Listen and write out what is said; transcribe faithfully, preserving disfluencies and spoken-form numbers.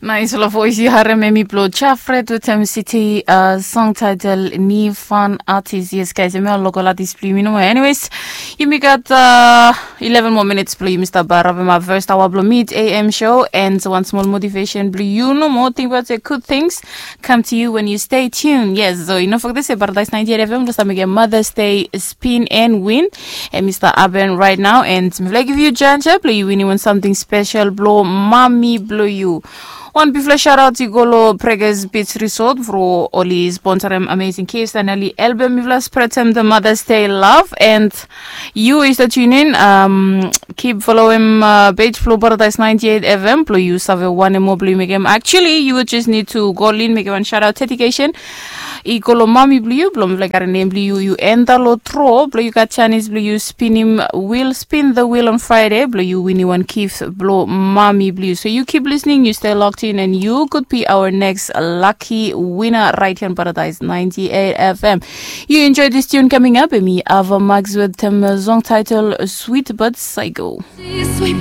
Nais lo vois yu harem emi blo Jafret wetem City, song title Ni Fan Artis. Yes guys, emi ol local artis blo yumi nomo. Anyways, yumi gat uh, eleven more minutes blo yumi stap harapem our first hour blo mid A M show, and one small motivation blo yu nomo. Think about the good things come to you when you stay tuned. Yes, so you know for this, Paradise ninety-eight F M blo stap mekem Mother's Day spin and win. Emi stap happen right now, and mifala give you chance blo yu wini wan something special blo mami blo yu. Wan bigfala shout out i go lo Pregas Beach Resort bro, oli sponsorem Amazing Kids and oli helpem mifala spreadem the Mother's Day love. And you is the tune in, um, keep followem uh, page blo Paradise ninety-eight F M blo yu save wanem moa blo yu mekem. Actually, you would just need to go in, mekem wan shout out dedication i go lo mami blo yu, blo mifala karem nem blo yu, yu enta lo draw blo yu gat chance blo yu spinim wheel, spin the wheel on Friday blo yu wini wan gift blo mami blo yu. So you keep listening, you stay locked in, and you could be our next lucky winner right here on Paradise ninety-eight F M. You enjoy this tune coming up, emi Ava Max wetem song title Sweet But Psycho. Sweet